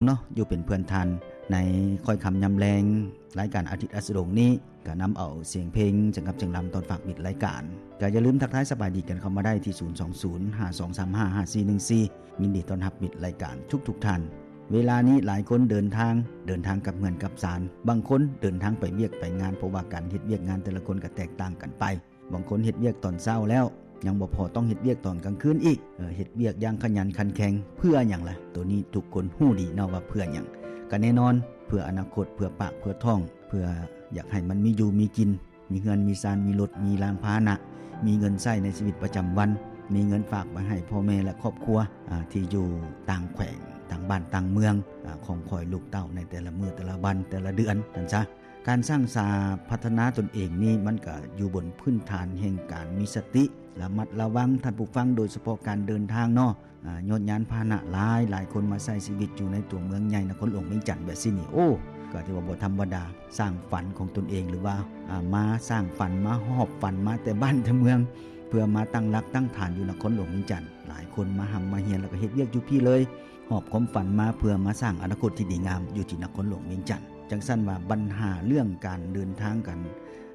ເນາະ ຢູ່ເປັນເພື່ອນທ່ານໃນຄ່ອຍຄ່ຳຍາມແລງ. ລາຍການອາທິດອັສດະດົງນີ້ ກໍນຳເອົາສຽງເພງ ສະຫງັບສຽງລຳ ຕອນຝາກປິດລາຍການ. ກໍຢ່າລືມທັກທາຍສະບາຍດີກັນເຂົ້າມາໄດ້ທີ່ ສູນສອງສູນ ຫ້າສອງສາມຫ້າ ຫ້າສີ່ໜຶ່ງສີ່. ຍິນດີຕ້ອນຮັບມິດລາຍການທຸກໆທ່ານ. ເວລານີ້ຫຼາຍຄົນເດີນທາງ, ເດີນທາງກັບເຮືອນກັບຊານ. ບາງຄົນເດີນທາງໄປວຽກໄປງານ, ເພາະວ່າການເຮັດວຽກງານແຕ່ລະຄົນກໍແຕກຕ່າງກັນໄປ. ບາງຄົນເຮັດວຽກຕອນເຊົ້າແລ້ວ ຍັງບໍ່ພໍຕ້ອງເຮັດວຽກຕອນກາງຄືນອີກ. ເອີ ເຮັດວຽກຢ່າງຂະຫຍັນຂັນແຂງ ເພື່ອຫຍັງລະ? ໂຕນີ້ທຸກຄົນຮູ້ດີເນາະວ່າເພື່ອຫຍັງ. ກໍແນ່ນອນ ເພື່ອອະນາຄົດ, ເພື່ອປາກ, ເພື່ອທ້ອງ, ເພື່ອຢາກໃຫ້ມັນມີຢູ່ມີກິນ, ມີເຮືອນ, ມີຊານ, ມີລົດ, ມີລານພາຫະນະ, ມີເງິນໃຊ້ໃນຊີວິດປະຈຳວັນ, ມີເງິນຝາກໄວ້ໃຫ້ພໍ່ແມ່ ແລະ ຄອບຄົວ ອາ ທີ່ຢູ່ຕ່າງແຂວງ, ຕ່າງບ້ານ, ຕ່າງເມືອງ ອາ ຂອງຂ້ອຍລູກເຕົ້າໃນແຕ່ລະມື້, ແຕ່ລະວັນ, ແຕ່ລະເດືອນ ນັ້ນຊະ. ການສ້າງສາພັດທະນາຕົນເອງນີ້ ມັນກໍຢູ່ບົນພື້ນຖານແຫ່ງການມີສະຕິ, ລະມັດລະວັງ ທ່ານຜູ້ຟັງ, ໂດຍສະເພາະການເດີນທາງເນາະ. ອາ ຍອດຍານພາຫະນະຫຼາຍ, ຫຼາຍຄົນມາໃຊ້ຊີວິດຢູ່ໃນຕົວເມືອງໃຫຍ່ນະຄອນຫຼວງວຽງຈັນແບບຊີ້ນີ້ ໂອ້ ກໍຖືວ່າບໍ່ທຳມະດາ. ສ້າງຝັນຂອງຕົນເອງ ຫຼືວ່າ ອາ ມາສ້າງຝັນ, ມາຫອບຝັນມາແຕ່ບ້ານແຕ່ເມືອງ ເພື່ອມາຕັ້ງຫຼັກຕັ້ງຖານຢູ່ນະຄອນຫຼວງວຽງຈັນ. ຫຼາຍຄົນມາຮ່ຳມາຮຽນ ແລ້ວກໍເຮັດວຽກຢູ່ພີ້ເລີຍ, ຫອບຄວາມຝັນມາເພື່ອມາສ້າງອະນາຄົດທີ່ດີງາມຢູ່ທີ່ນະຄອນຫຼວງວຽງຈັນ. ຈັ່ງຊັ້ນວ່າບັນຫາເລື່ອງການເດີນທາງກັນ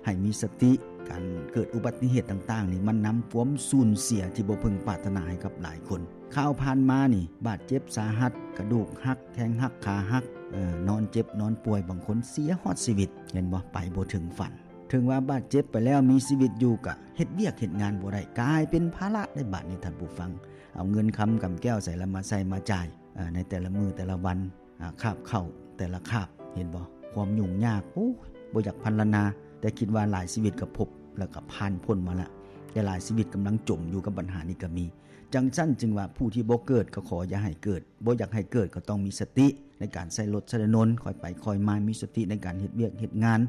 ໃຫ້ມີສະຕິ, ການເກີດອຸບັດຕິເຫດຕ່າງໆນີ້ ມັນນຳຄວາມສູນເສຍທີ່ບໍ່ເພິ່ງປາດຖະໜາໃຫ້ກັບຫຼາຍຄົນ. ຂ່າວຜ່ານມານີ້ ບາດເຈັບສາຫັດ, ກະດູກຫັກ, ແຂ້ງຫັກ, ຂາຫັກ, ເອີ ນອນເຈັບນອນປ່ວຍ, ບາງຄົນເສຍຮອດຊີວິດ, ເຫັນບໍ່? ໄປບໍ່ເຖິງຝັນ. ເຖິງວ່າບາດເຈັບໄປແລ້ວ ມີຊີວິດຢູ່ກະເຮັດວຽກເຮັດງານບໍ່ໄດ້, ກາຍເປັນພາລະໄດ້ບາດນີ້ທ່ານຜູ້ຟັງ. ເອົາເງິນຄຳກຳແກ້ວໃສລະມາໃຊ້ມາຈ່າຍ ເອີ ໃນແຕ່ລະມື້ແຕ່ລະວັນ. ອາ ຄາບເຂົ້າແຕ່ລະຄາບ ເຫັນບໍ່? ຄວາມຫຍຸ້ງຍາກ ໂອ້ຍ ບໍ່ຢາກພັນລະນາ, ແຕ່ຄິດວ່າຫຼາຍຊີວິດກໍພົບ ແລ້ວກໍຜ່ານພົ້ນມາລະ, ແຕ່ຫຼາຍຊີວິດກຳລັງຈົມຢູ່ກັບບັນຫານີ້ກໍມີ. ຈັ່ງຊັ້ນຈຶ່ງວ່າ ຜູ້ທີ່ບໍ່ເກີດກໍຂໍຢ່າໃຫ້ເກີດ, ບໍ່ຢາກໃຫ້ເກີດກໍຕ້ອງມີສະຕິໃນການໃຊ້ລົດໃຊ້ຖະໜົນ, ຄ່ອຍໄປຄ່ອຍມາ, ມີສະຕິໃນການເຮັດວຽກເຮັດງານ.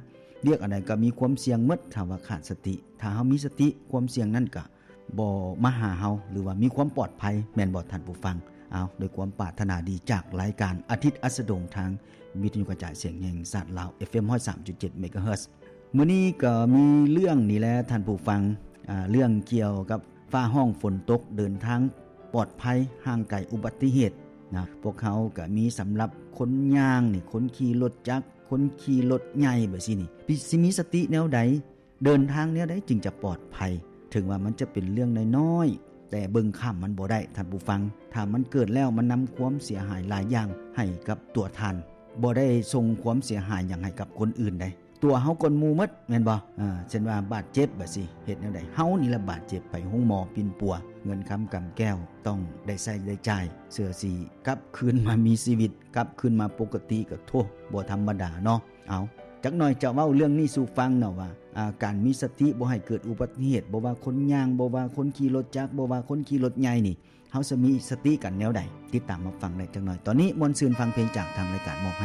ວຽກອັນໃດກໍມີຄວາມສ່ຽງໝົດ ຖ້າວ່າຂາດສະຕິ. ຖ້າເຮົາມີສະຕິ ຄວາມສ່ຽງນັ້ນກໍ ບໍ່ມາຫາເຮົາ ຫຼືວ່າມີຄວາມປອດໄພ ແມ່ນບໍ່ທ່ານຜູ້ຟັງ? ເອົາ ດ້ວຍຄວາມປາດຖະໜາດີຈາກລາຍການອາທິດອັສດະດົງ ທາງວິທະຍຸກະຈາຍສຽງແຫ່ງຊາດລາວ ເອັຟເອັມ ຮ້ອຍສາມຈຸດເຈັດ ເມກາເຮີດ. ມື້ນີ້ກໍມີເລື່ອງນີ້ແຫຼະທ່ານຜູ້ຟັງ, ອາ ເລື່ອງກ່ຽວກັບຟ້າຮ້ອງຝົນຕົກ, ເດີນທາງປອດໄພ ຫ່າງໄກອຸບັດຕິເຫດນະ. ພວກເຮົາກໍມີສຳລັບຄົນຍ່າງນີ້, ຄົນຂີ່ລົດຈັກ, ຄົນຂີ່ລົດໃຫຍ່ແບບຊີ້ນີ້ ຊິມີສະຕິແນວໃດ? ເດີນທາງແນວໃດຈຶ່ງຈະປອດໄພ? ເຖິງວ່າມັນຈະເປັນເລື່ອງນ້ອຍໆ ແຕ່ເບິ່ງຂ້າມມັນບໍ່ໄດ້ທ່ານຜູ້ຟັງ. ຖ້າມັນເກີດແລ້ວ ມັນນຳຄວາມເສຍຫາຍຫຼາຍຢ່າງໃຫ້ກັບຕົວທ່ານ, ບໍ່ໄດ້ສົ່ງຄວາມເສຍຫາຍຫຍັງໃຫ້ກັບຄົນອື່ນໃດ. ຕົວເຮົາກ່ອນໝູ່ໝົດ ແມ່ນບໍ່? ເຊັ່ນວ່າບາດເຈັບບາດຊິເຮັດແນວໃດ? ເຮົານີ້ລະບາດເຈັບ, ໄປໂຮງໝໍປິ່ນປົວ, ເງິນຄຳກຳແກ້ວຕ້ອງໄດ້ໃຊ້ໄດ້ຈ່າຍ, ເພື່ອຊິກັບຄືນມາມີຊີວິດ, ກັບຄືນມາປົກກະຕິ ກໍໂທ້ ບໍ່ທຳມະດາເນາະ. ເອົາ ຈັກໜ່ອຍຈະເວົ້າເລື່ອງນີ້ສູ່ຟັງເນາະວ່າ ອາ ການມີສະຕິບໍ່ໃຫ້ເກີດອຸບັດຕິເຫດ, ບໍ່ວ່າຄົນຍ່າງ, ບໍ່ວ່າຄົນຂີ່ລົດຈັກ, ບໍ່ວ່າຄົນຂີ່ລົດໃຫຍ່ນີ້ ເຮົາຈະມີສະຕິກັນແນວໃດ? ຕິດຕາມຮັບຟັງໄດ້ຈັກໜ່ອຍ. ຕອນນີ້ມ່ວນຊື່ນຟັງເພງຈາກທາງລາຍການມອບໃຫ້.